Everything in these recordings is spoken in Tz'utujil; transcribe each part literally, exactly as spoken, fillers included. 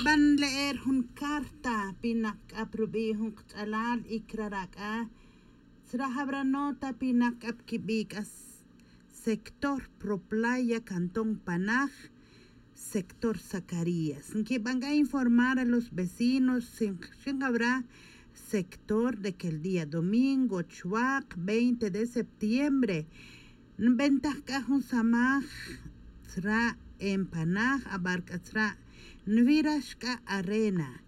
Ban leer jun carta pinak c'a pa rubi' jun kach'alal y crara' c'a tzra jabra nota pinak c'a pa quibi' c'a sector Proplaya, cantón Panaj, sector Zacarías. Nquiban c'a informar a los vecinos, xin jabra sector de que el día domingo chuak veinte de septiembre nbentaj c'a jun samaj tzra' en Panaj, abar c'a tzra' nvirax c'a arena.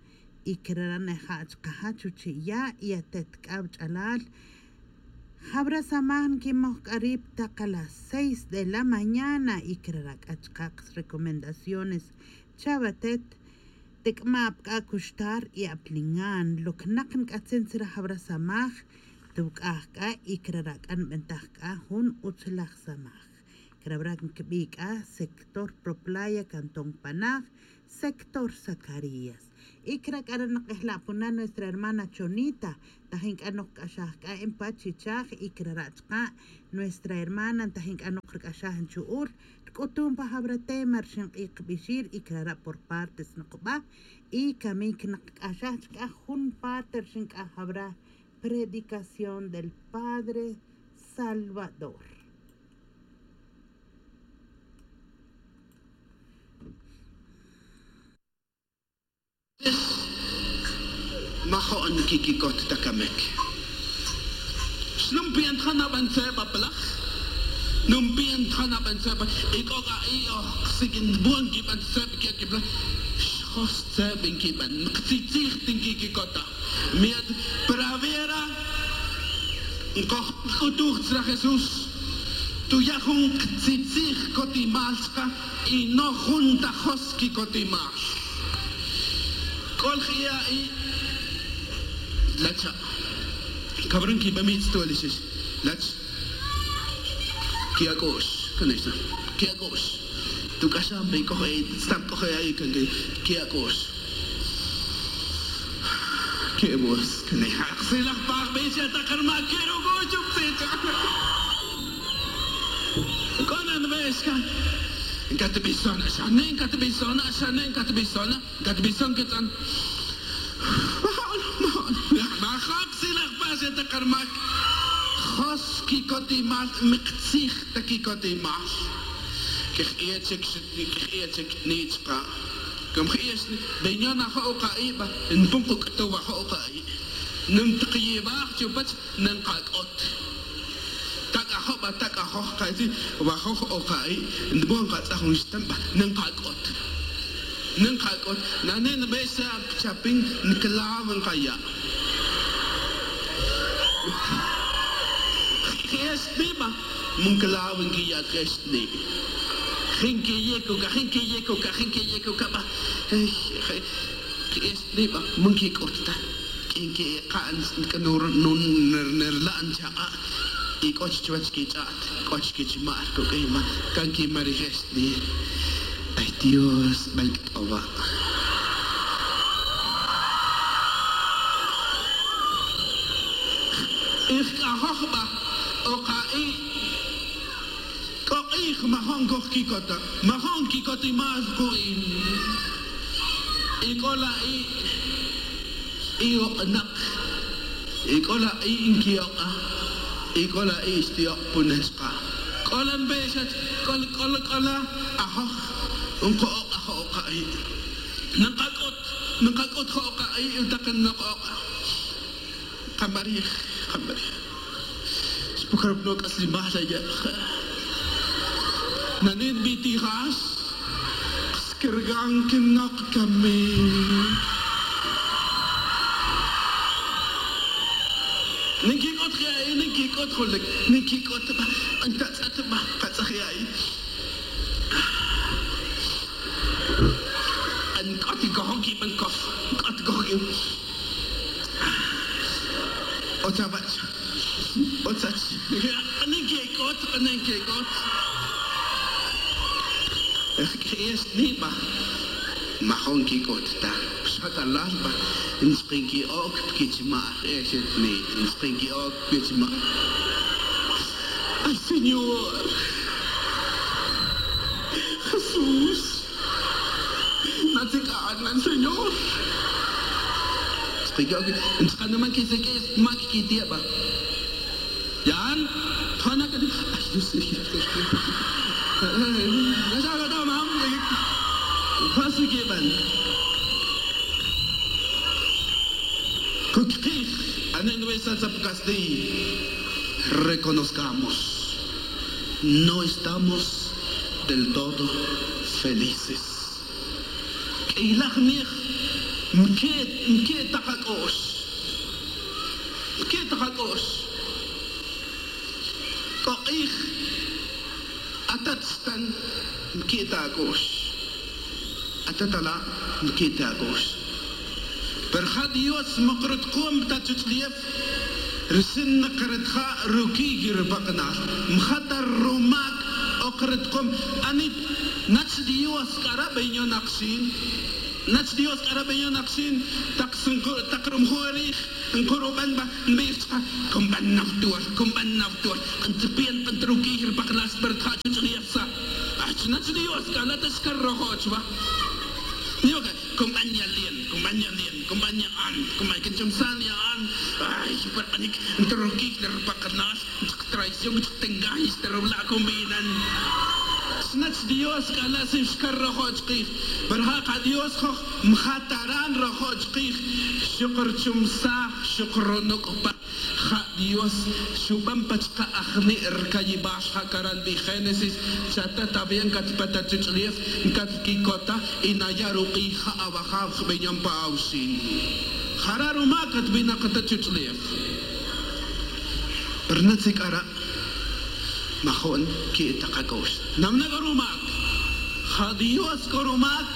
Y crara' neja' chkaja' chuchi' ya' y atet c'a wach'alal. Jabra samaj nquimoj c'a ri' pa tak a las seis de la mañana y crara' c'a chkak recomendaciones chawatet. Tec'ma' ap c'a cuxtar y ap lingan lo cnak nc'atzin tzra jabra samaj. Tuc'aj c'a y crara' c'a nbentaj c'a jun utzlaj samaj. Crabra' nquibi' c'a sector Proplaya, cantón Panaj, sector Zacarías. Y cra c'a re' nak k'ejla' puna' nuestra hermana Chonita, tajin c'a nok kc'axaj c'a en pach ichaj y crara' chka' nuestra hermana tajin c'a nok rc'axaj nchu'ul. Rc'utun pa jabra tema rxin k'ij kbixir y crara' por parte snokba. Y camic nak kc'axaj chka' jun parte rxin c'a jabra predicación del Padre Salvador. Majo'n quiquicot ta camic. Xnumpi'an ta jun aban tzeb aplaj. Numpi'an ta jun aban tzeb. Y c'o c'a i' oj kasiq'uin nbon quiban tzeb que quiplaj. Xjos tzeb nquiban, nktzitzij ta nquiquicota. Miet praviera. Nkoj nc'utuj tzra Jesús. Tuya' jun ktzitzij cotimal chka y no jun ta jos quicotimal. C'ol ji'a'i. Lacha'. Cabrón quib'an mitz' tuwalixix. Lach. Qui'ac'o'x. Canexta. Qui'ac'o'x. Tuc'axan pe c'oj e tz'atab c'oj e a'i can que qui'ac'o'x. Qui'ebos. Canexta. Xilaj pajbix ya ta karma quiruc'uch uctzit. C'o na nbe'ex can. Catbisona xane, catbisona xane, catbisona. Catbison quetz'an. Majol, majol. Majol, xilaj pajbix ya ta karma. Jos quicotimal, miktzij ta quicotimal. Quej'i'et chic, quej'i'et chic ni' chka'. Como j'i'et, beñon ajo' uka'i' ba, npun kuc'tuw ajo' uka'i'. Nintkiyiwaj chupach, ninkac'ut. Tac'ajo' ba, tac'ajoj ka'i' ti, wajoj uka'i', npun katz'aj jun xtan ba, ninkac'ut. Ninkac'ut, nani' nbe'ex ta chapin, nclaw nkaya'. Je'ex ti ba, mu nclaw nquiya' je'ex. Ni' jin queye' cuca, jin queye' cuca, jin queye' cuca ba. Je'ex ni' ba, mu nquic'ut ta. Q'uin que'eka'n, nirla'n chak'a'. Y c'o chi chuwech quich'a't, c'o chi quichmar, cuq'uin ba. Can quimar je'ex ni'. Ay Dios, bal ct'owa'. Y jc'ajoj ba, o ka'i'. C'o k'ij majo'n coj quicota, majo'n quicotimal ku'in. Y c'o la'i' i ok'nak, y c'o la'i' nquiok'a, y c'o la'i' xtiok' pune chka'. C'o la nbe'ex, c'o la, c'o la ajoj nko'ok' ajo' o ka'i'. Ninkac'ut, ninkac'ut jo' o ka'i' y tak nok'ok'. Kamarij, kamarij. Xpucarop no c'aslimal aye'. Nani' nbitij ax. Xkergan quinok camic. Ninquic'ut je a'i, ninquic'ut julic, ninquic'ut ba, ntatz'at ba, katz'aj je a'i. Nc'ot ncojon quiban cof, nc'ot ncojon. Otzawach, otzach. Q'anen quec'ot, q'anen quec'ot. Je'ex ni' ba, majo'n quic'ot ta. Xatalal ba, nchkin qui'oc pa quichmaj, je'ex ni', nchkin qui'oc pa quichmaj. Ay Señor Jesús. Natzic'an, Señor. Nchqanuman quisiq'uis mac quitiaba. Yan jana' c'a ay dios. Naxaca ta mam. Jasiquiban. Cuc'kij. Anen wesa tzapcasli. Reconozcamos, no estamos del todo felices. Q'uiylaj nej nqui' tak ac'o'x. Nqui' tak ac'o'x. C'o k'ij atat xtan nqui' ta ac'o'x. Atat ala' nqui' ta ac'o'x. Pero ja dios mok rutkom ta chuch'lef. Rixin nakaretja' ruquiy rupaknal. Mja ta rumac ok rutkom. Anit nach dios c'ara' beyon akxin. Nach dios c'ara' beyon akxin. Tak rumju' rij nkuruban ba nbij chka. Cunban nawtor cunban nawtor. Ntzipin npin ta ruquiy rupaknal xperetja' chuch'lef sa'. Ach nach dios c'ala' ta xcar rojo' chwa. Cunban yalin cunban yalin cunban ya'an cunban quinchumsan ya'an. Ay park'anic ntrurquiy le rupaknal. Nchka traición nchka tengaño xtarubla' cumbinan. Xnach dios c'ala' si xcar rojo' chkij. Pero ja ka dios joj mja taran rojo' chkij. Xuk ruchumsaj xuk runuc' pa. Ja dios xuban pa chka ajni' rcayibal ja caran bi génesis. Chatat avian catpat achuch'lef ncatquicota. Y naya' ruk'ij ja awajaw jbeyon pa awxin. Jara' rumac catbinak ta chuch'lef. Pero natzi c'ara' majun qui' ta kac'o'x. Namna c'o rumac. Ja dios c'o rumac.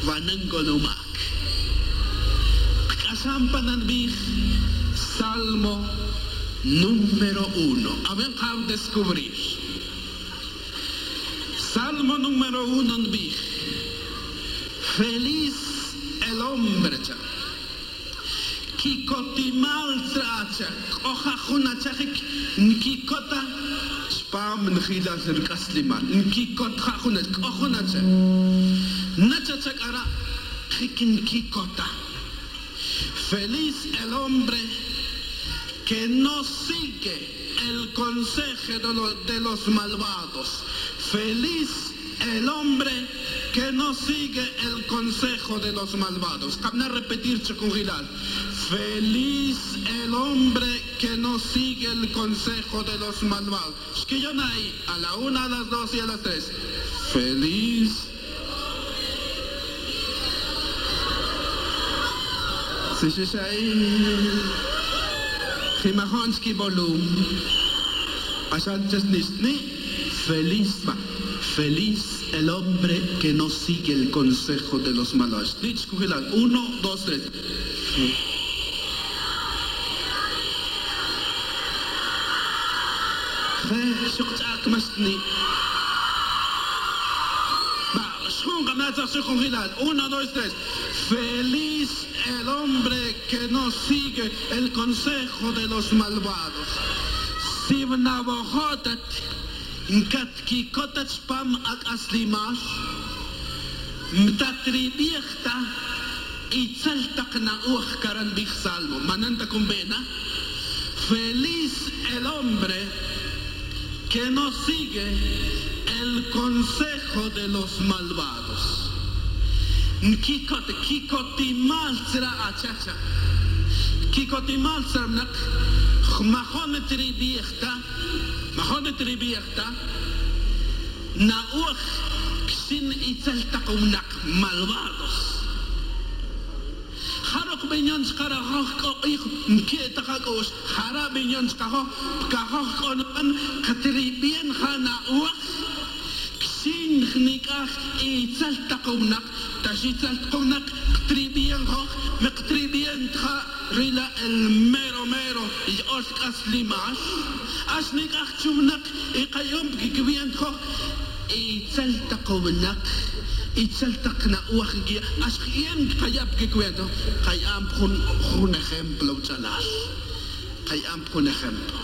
Wanan c'o numac. Kc'axan pa nanbij salmo número uno. Awen kaw descubrir. Salmo número uno nbij. Feliz el hombre cha. Quicotimal tzra' acha. C'o ja jun achajic nquicota chpam njilal ruc'aslimal nquicot ja jun acha c'o jun acha. Nachacha c'ara' jic nquicota. Feliz el hombre que no sigue el consejo de los malvados. Feliz el hombre que no sigue el consejo de los malvados. Kamna repetir chukujilal. Feliz el hombre que no sigue el consejo de los malvados. Xquiyon ahi a la una a las dos y a las tres. Feliz. Si xixa'i. Jimajon chki volum. Axan chesnixni. Feliz ma. Feliz el hombre que no sigue el consejo de los malos. Xni' chkujilal uno dos tres. Je' xuk ch'ak ma xtni'. Ba xjun q'anatza xuk junjilal uno dos tres. Feliz el hombre que no sigue el consejo de los malvados. Si wnawojotat nkatquicot ta chpam ac'aslimal. Mtatribij ta itzel tak na'oj cara' nbij salmo manan ta cumbe'na. Feliz el hombre que no sigue el consejo de los malvados. Nquicot quicotimal tzra' achacha. Quicotimal tzra' mnak. Majon tribij ta. Majon tribij ta. Na'oj quixin itzel tak wnak malvados. Jaruk binyon chka rajoj c'o k'ij nque' tak ac'o'x. Jara' binyon chka joj pcajoj c'o nuban. Katribiyen ja na'oj quixin jnic'aj itzel tak wnak. Ta xitzel tak wnak katribiyen joj. Makatribiyen ta ja. Rila' el mero mero. Ya'ol c'aslimal. Ax nic'aj chu wnak. Y kaya'on pa quicuwi'an ta joj. Itzel tak wnak. Itzel tak na'oj nquiya'. Ax ji'en kaya' pa quicuwi'an ta joj. Kaya'an pa jun ejemplo wach'alal. Kaya'an pa jun ejemplo.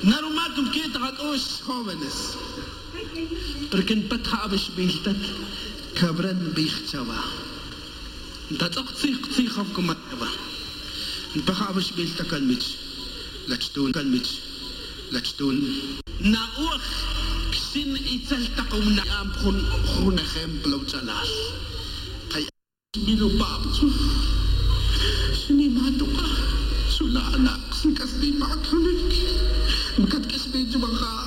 Naruma' cumque' tak ac'o'x jóvenes. Porque npet ja awixbiltat. Cabra nbij chawa. Tatz'ok tzij tzij jaw coma npaja' awixbil ta can mich. Lach tun can mich. Lach tun. Na'oj. Cxin itzel tak wna' am jun jun ejemplo wach'alal. Xbin upab chu xnimat uka xula' anak' xc'aslimak. Catq'uixbin chubaja'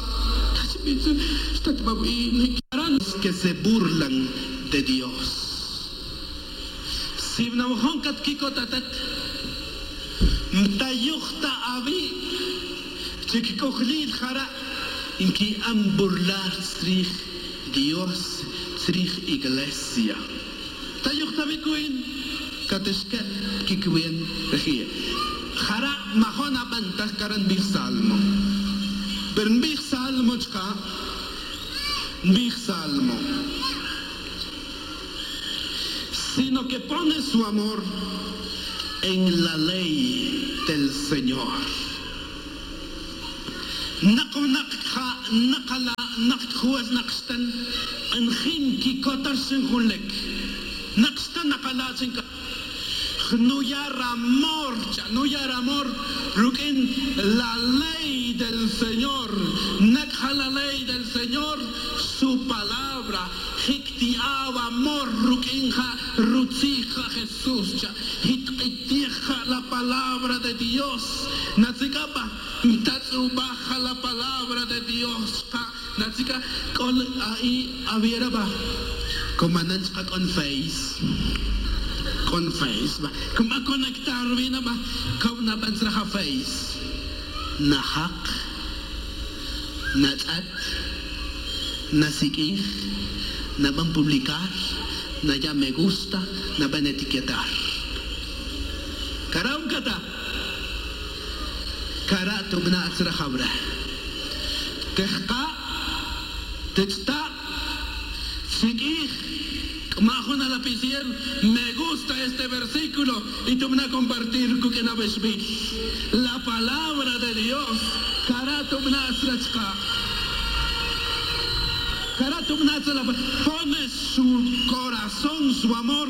catxbin chu xtatbabinik. Aran que se burlan de Dios. Si nawajon catquicot atat mtayuj ta awi' chic c'ojlil jara' nqui'an burlar chrij Dios chrij iglesia. Tayuj ta wi' cuin catixque' quicuin reji'. Jara' majo' naban taj cara' nbij salmo. Pero nbij salmo chka' nbij salmo sino que pone su amor en la ley del Señor. Nak wnak cja' nak ala' nak cjuwel nak xtan nji' nquicotar xin jun lec. Nak xtan nak ala' chin ca nuya' ramor cha nuya' ramor ruq'uin la ley del Señor. Nak ja la ley del Señor su palabra. Jicti'a' wamor ruq'uin ja rutzij ja Jesús cha. Jitk'itij ja la palabra de Dios. Natzic'a ba ntatz'ubaj ja la palabra de Dios chka'. Natzic'a c'o a'i awiera ba. Coma nan chka c'o nface c'o nface ba coma conectar wina ba. Cawna ban tzra ja face najak. Natz'at. Nasiq'uij. Naban publicar. Naya' me gusta. Naban etiquetar. Caram cata. Cara' tubna' tzra jawra. Tejka' tich'ta'. Siq'uij. C'ama jun alapicier me gusta este versículo. Y tubna' compartir cuq'uin awixbil la palabra de Dios. Cara' tubna' tzra chka'. Cara' tubna' tzra la pone su corazón su amor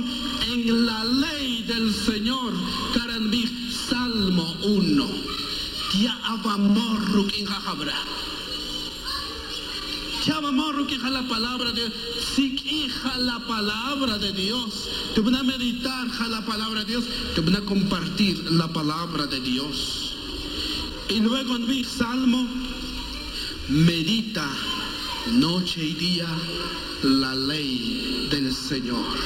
en la ley del Señor. Cara' nbij salmo uno. Tya' awamor ruq'uin ja jawra. Tya' awamor ruq'uin ja la palabra de Dios. Siq'uij ja la palabra de Dios. Tubna' meditar ja la palabra de Dios. Tubna' compartir la palabra de Dios. Y luego nbij salmo. Medita noche y día la ley del Señor.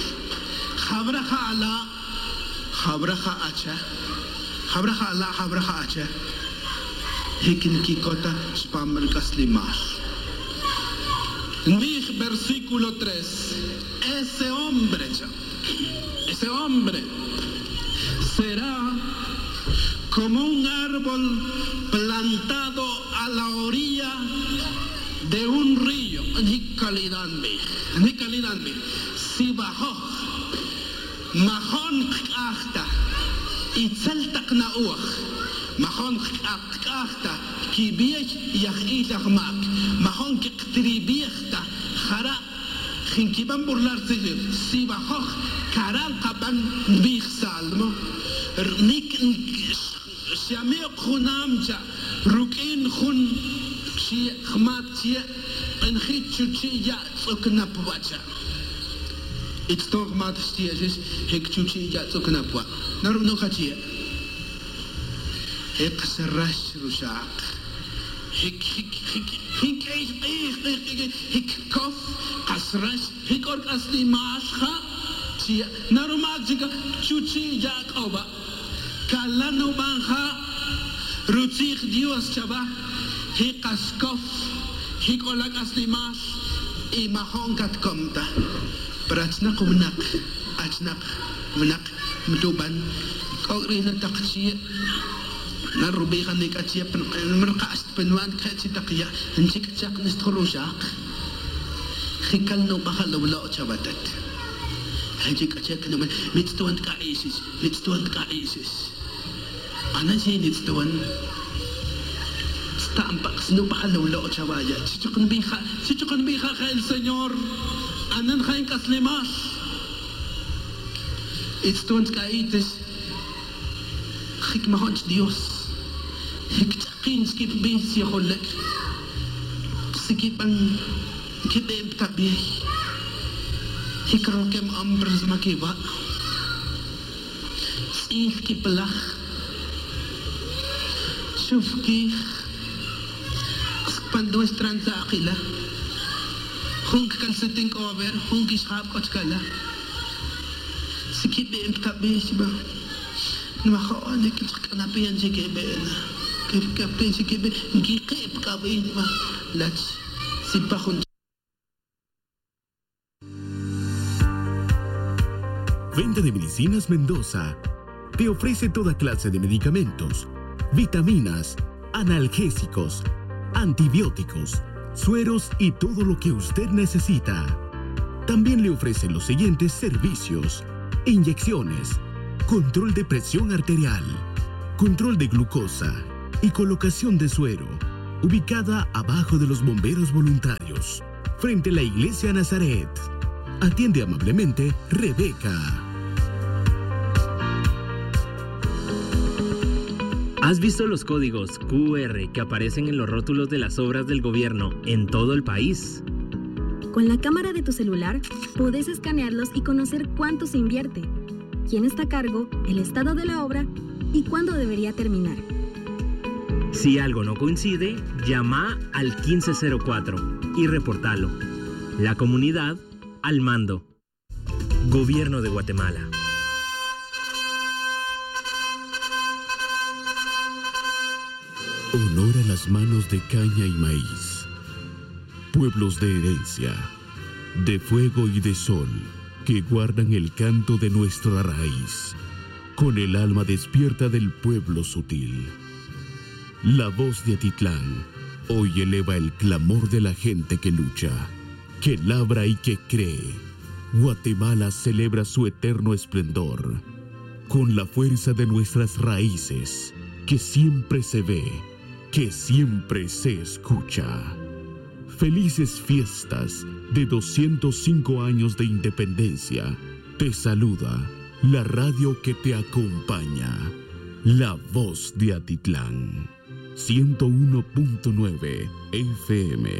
Jawra ja ala'. Jawra ja ache. Jawra ja ala' jawra ja ache. Jic nquicota chupam rc'aslimal. Nbij versículo tres. Ese hombre cha ese hombre será como un árbol plantado a la orilla de un río. Njic calidad nbij njic calidad nbij. Si wajoj majon kc'aj ta itzel tak na'oj. Majon kc'aj ta quibiey yaj'il ajmac. Majon quiktribiej ta jara' jin quiban burlar tzij. Si wajoj cara' nkaban nbij salmo. Rnik xyamik junam cha ruq'uin jun chie' jmat chie' nji' chuchi' ya' tz'ucnap wa' cha. Itzton jmat xchie' xix jic chuchi' ya' tz'ucnap wa'. Narubno' jachie'. Jic xrax ruxak. Jic jic jic jic q'uij q'uij q'uij jic cof. Kas rax jic c'o rc'aslimal ja'. Chi narumac chica chuchi' ya' c'o wa'. Cala' nuban ja' rutzij dios chava. Jic kas cof jic c'o la c'aslimal. Y majo'n catcom ta. Pero achnak winak achnak winak mtuban. C'o c'a rij na tak chie'. Narubij anic'a chie' pan k'e nrka'x ta pan wan kje' chi tak ya' nchic' chak nix ta jun ruxak. Jical nuba' ja' lawlo' chawa tat. Je' chi k'a chek nuba' nitz'tuwan ta k'a ixix nitz'tuwan ta k'a ixix. Ana' chi nitz'tuwan. Tzta' npak snuba' ja' lawlo' chawa ya' chi chuk nbij ja' chi chuk nbij ja' je' el señor. Ana' nja' nc'aslimal. Itston chk'a itis. Jik majon chdios. Jik ch'akin chkip bin si jolek. Si kiban kiben ptabiy. Jik rokem hombres makiba. Tz'il kipalaj. Xuf kij. Xpan dos tranza akila. Jun kcalcetin k'o ver jun kixjab k'o chkala. Si kiben ptabiy xba. Nima jo'onik chk'anapen chikebe. Kiben chikebe. Nkikep k'aben nima. Lach. Si pa jun. Venta de Medicinas Mendoza. Te ofrece toda clase de medicamentos, vitaminas, analgésicos, antibióticos, sueros y todo lo que usted necesita. También le ofrece los siguientes servicios: inyecciones, control de presión arterial, control de glucosa y colocación de suero, ubicada abajo de los bomberos voluntarios, frente a la iglesia Nazaret. Atiende amablemente Rebeca. ¿Has visto los códigos Q R que aparecen en los rótulos de las obras del gobierno en todo el país? Con la cámara de tu celular, podés escanearlos y conocer cuánto se invierte, quién está a cargo, el estado de la obra y cuándo debería terminar. Si algo no coincide, llama al quince cero cuatro y reportalo. La comunidad al mando. Gobierno de Guatemala. Honora las manos de caña y maíz, pueblos de herencia, de fuego y de sol, que guardan el canto de nuestra raíz, con el alma despierta del pueblo sutil. La Voz de Atitlán hoy eleva el clamor de la gente que lucha, que labra y que cree. Guatemala celebra su eterno esplendor, con la fuerza de nuestras raíces, que siempre se ve, que siempre se escucha. Felices fiestas de doscientos cinco años de independencia. Te saluda la radio que te acompaña, La Voz de Atitlán, ciento uno punto nueve F M.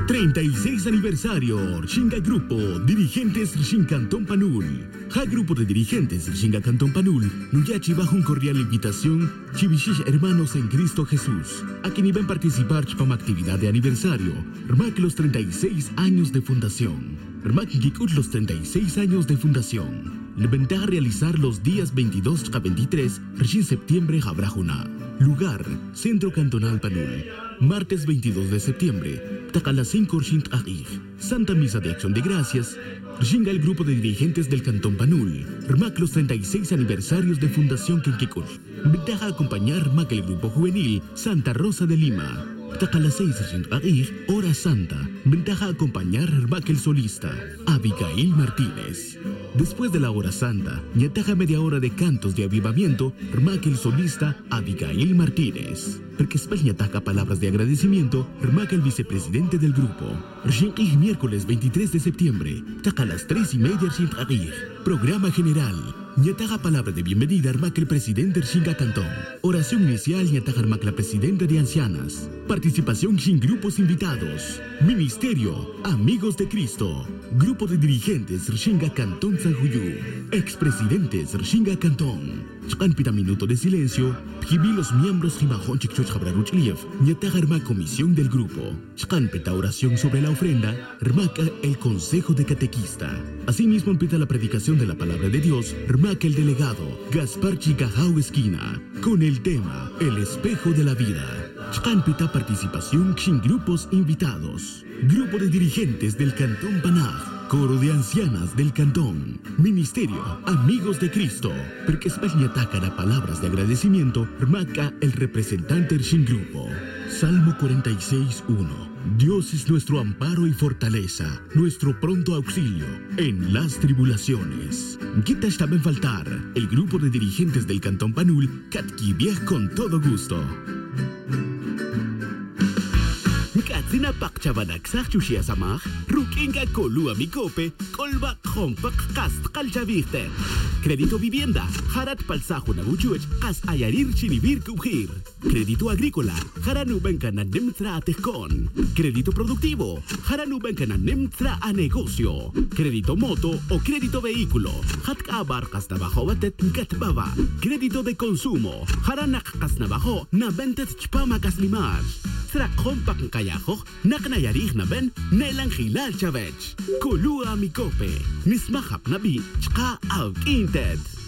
Treinta y seis aniversario rxin ka grupo dirigentes rxin Cantón Panul. Ja grupo de dirigentes rxin ka Cantón Panul nuya' chiva jun cordial invitación chiwixix hermanos en Cristo Jesús, a quien iban participar chupam actividad de aniversario rmac los treinta y seis años de fundación. Rmac nquic'ul los treinta y seis años de fundación. Nbenta realizar los días veintidós chka veintitrés rxin septiembre jabra juna'. Lugar: Centro Cantonal Panul. Martes veintidós de septiembre, tak a las cinco rxin tk'ak'ij, Santa Misa de Acción de Gracias. Rxin kal grupo de dirigentes del Cantón Panul rmac los treinta y seis aniversarios de fundación que nquic'ul. Nbenta ja acompañar rmac el grupo juvenil Santa Rosa de Lima. Tak a las seis rxin tk'ak'ij, hora santa, nbenta ja acompañar rmac el solista Abigail Martínez. Después de la hora santa, nyata ja media hora de cantos de avivamiento rmac el solista Abigail Martínez. Rk'isbel nyata ja palabras de agradecimiento rmac el vicepresidente del grupo. Rxin k'ij, miércoles veintitrés de septiembre, tak a las tres y media rxin tk'ak'ij, programa general. Nyata ja palabra de bienvenida rmac el presidente rxin ka cantón. Oración inicial nyata ja rmac la presidenta de ancianas. Participación rxin grupos invitados: Ministerio Amigos de Cristo, grupo de dirigentes rxin ka cantón San Juyú, expresidentes rxin ka cantón. Chka' npita minuto de silencio, pquibi los miembros jimajon chic chuch jabra ruch'ulef, nyata ja rmac comisión del grupo. Chka' npita oración sobre la ofrenda rmac el consejo de catequista. Asimismo npita la predicación de la palabra de Dios rmac el delegado Gaspar Chicajaw Esquina, con el tema El espejo de la vida. Chka' npita participación rxin grupos invitados: grupo de dirigentes del Cantón Panaj, coro de ancianas del cantón, Ministerio Amigos de Cristo. Rk'isbel nyata ja palabras de agradecimiento rmac el representante rxin grupo. Salmo cuarenta y seis uno. Dios es nuestro amparo y fortaleza, nuestro pronto auxilio en las tribulaciones. Nquita xtaben faltar, el grupo de dirigentes del Cantón Panul catquibiej con todo gusto. Nc'atzin apak chawa nacsaj chuxi' asamaj? Ruq'uin c'a colu amicope c'olba' k'ajom pek kas tkal chawij tet. Crédito vivienda, jara' tpalsaj jun awuchuch' kas ayari' rch'inibir cubjir. Crédito agrícola, jara' nuben can anim tzra' atijco'n. Crédito productivo, jara' nuben can anim tzra' anegocio. Crédito moto o crédito vehículo, jat c'a abar kas nawajo' awatet ncatba' awa'. Crédito de consumo, jara' nak kas nawajo' naben tet chpam acaslimal. Tzra' k'ajom pek ncayajoj, nak nayarij naben ne'lanjilal chawech. Colu amicope, nismaj apnabi' chka' awuq'uin tet.